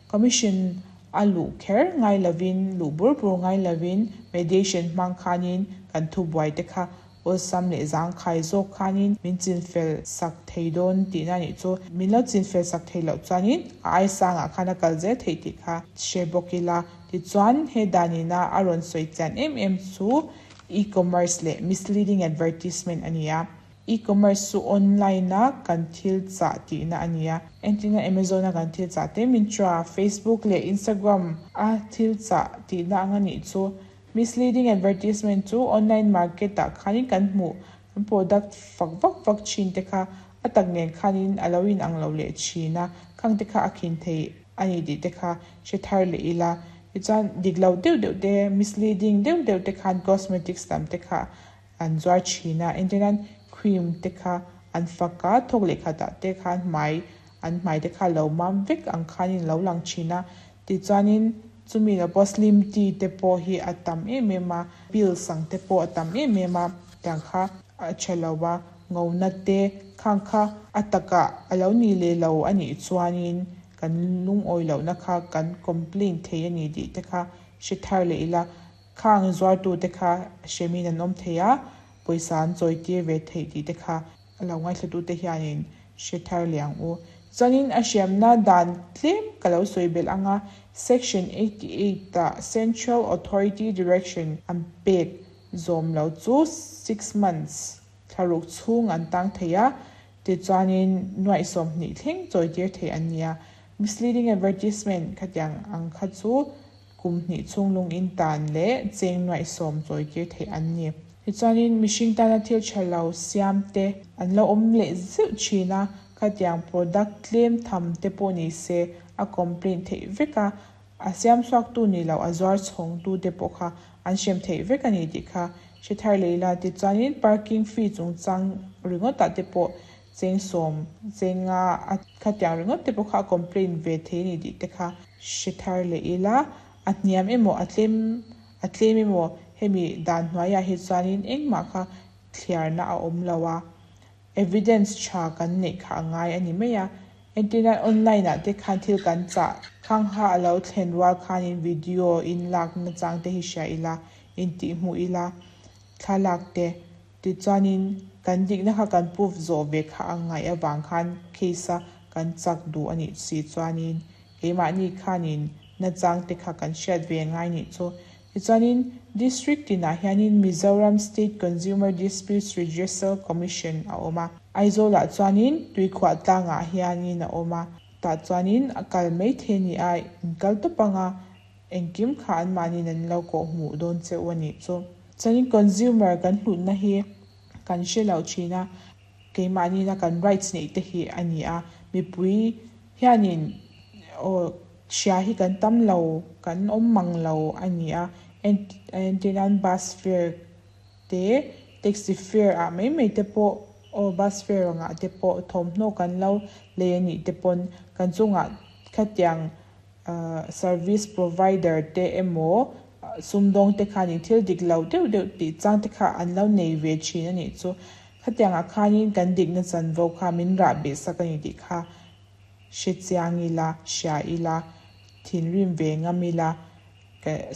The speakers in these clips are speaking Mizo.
Commission a luh kher ngai lovin, luh bur bur ngai lovin mediation hmang khanin kan thubuai te kha awlsam leh zangkhai zawk khanin min chinfel sak thei dawn tihna nih chu. Min lo chinfel sak theih loh chuanin a ai sangah khan a kal zel theih tih kha hre bawk ila. Tichuan he danina a rawn sawi chian em em chu e-commerce leh misleading advertisement a ni a. E-commerce chu online a kan thil chah tihna a ni a. Entirna Amazon a kan thil chah te, Myntra, Facebook leh Instagram a thil chah tihna ang a nih chu. Misleading advertisement chu online market ah khanin kan hmuh kan product fak vak vak thin te kha a tak nen khanin a lo in ang lo leh thin a, khang te kha a khin thei a ni tih te kha hre thar leh ila. Tichuan dik lo deuh deuh te, misleading deuh deuh te khan cosmetics lam te kha an zuar thin a, entirnan cream te kha an fak a, thawk leh khatah te khan hmai an hmai te kha lo mam vek ang khanin lo lang thin a, tichuanin chumi lo pawh slim tea te pawh hi a tam em em a, pills ang te pawh a tam em em a, tiang kha a tha lo a, ngona te khang kha a takah a lo ni leh lo a nih chuanin kan lungawi lohna kha kan complain thei a ni tih te kha hre thar leh ila. Khang zuartute kha hremin an awm thei a, pawisa an chawitir ve theih tih te kha a lo ngaithlatute hianin hre thar leh ang u. Chuanin a hriamna dan tlem ka lo sawi belh ang a, Section 88 ah Central Authority Direction an pek zawm lo chu 6 months thlaruk chhung an tang thei a, tichuanin nuaih 20 thleng chawitir thei an ni a. Misleading advertisement khatiang ang kha chu kum hnih chhung lung in tan leh cheng nuaih 10 chawitir theih an ni. Tichuanin mihring tana thil tha lo siam te an lo awm leh zeuh thin a, khatiang product tlem tham te pawh ni se a complaint theih vek a, a siam chhuak tu ni lo a zuar chhawng tu te pawh kha an hrem theih vek a ni tih kha hre thar leh ila. Tichuanin parking fee chungchang ringawtah te pawh cheng 10 cheng nga a khatiang ringawt te pawh kha a complaint ve thei a ni tih te kha hre thar leh ila. A hniam emaw a tlem emaw hemi dan hnuaiah hi chuanin engmah kha thliarna a awm lo a, evidence tha kan neih kha a ngai a ni mai a. Entirnan online ah te khan thil kan chah khang kha a lo thlen rual khanin video in lak nachang te hi hria ila, intih hmuh ila thlalak te, tichuanin kan dikna kha kan proof zawh ve kha a ngaih avang khan case a kan chak duh a nih si chuanin keimahni khanin nachang te kha kan hriat ve ngai nih chu. Tichuanin district tinah hianin Mizoram State Consumer Disputes Redressal Commission a awm a, Aizawlah chuanin Tuikhuah tlangah hianin a awm a, tah chuanin a kal mai thei a ni a, in kal tawp anga engkim kha an mahnin an lo kawh hmuh dawn cheu a nih chu. Chuanin consumer kan hlutna hi kan hre lo thin a, keimahni na kan rights neih te hi a ni a, mipui hianin aw hria hi kan tam lo, kan awm mang lo a ni a. Entirnan bus fare te, taxi fare ah mai mai te pawh aw bus fare angah te pawh thawmhnaw kan lo lei a nih te pawn kan chungah khatiang service provider te emaw sumdawng te khanin thil dik lo deuh deuh tih chang te kha an lo nei ve thin a nih chu. Khatiangah khanin kan dikna chanvo kha min rah beh sak a ni tih kha hre chiang ila, hria ila, thinrim ve ngam ila,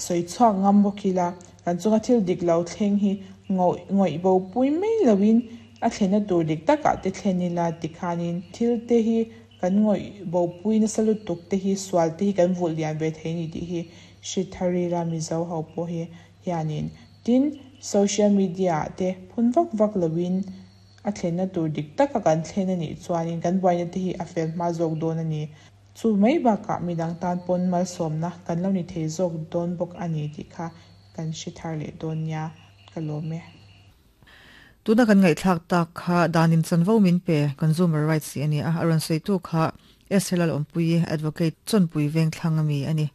sawi chhuak ngam bawk ila, kan chunga thil dik lo thleng hi ngawih bo pui mai loin a thlenna tur dik takah te thlen ila tikhanin thil te hi kan ngawih bo pui nasa lutuk te hi sual te hi kan vulh lian ve thei ni tih hi hre thar ila Mizo ho pawh hi hianin. Tin, social media ah te phun vak vak loin a thlenna tur dik taka kan thlen a nih chuanin kan buaina te hi a fel hma zawk dawn a ni. Chu mai bakah midang tan pawn malsawmna kan lo ni thei zawk dawn bawk a ni tih kha kan hre thar leh dawn nia, ka lawm e. Tuna kan ngaihthlak tak kha danin chanvo min pe consumer rights tih a ni a, a rawn sawitu kha SL Awmpui Advocate Chawnpui Vengthlang ami a ni.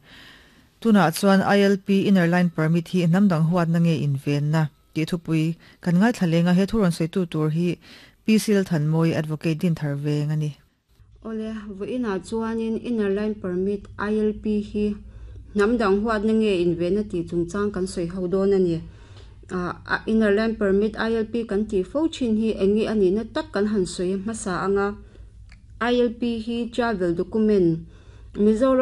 Tunah chuan ILP Inner Line Permit hi hnam dang huatna nge invenna tih thupui kan ngaithla lenga he thu rawn sawitu tur hi PC Lalthanmawi Advocate Dinthar Veng a ni. Awle, vawiinah chuanin Inner Line Permit ILP hi hnam dang huatna nge invenna tih chungchang kan sawi ho dawn a ni. Inner Line Permit ILP kan tih fo thin hi eng nge a nihna tak kan han sawi hmasa anga ILP hi travel document Mizoram.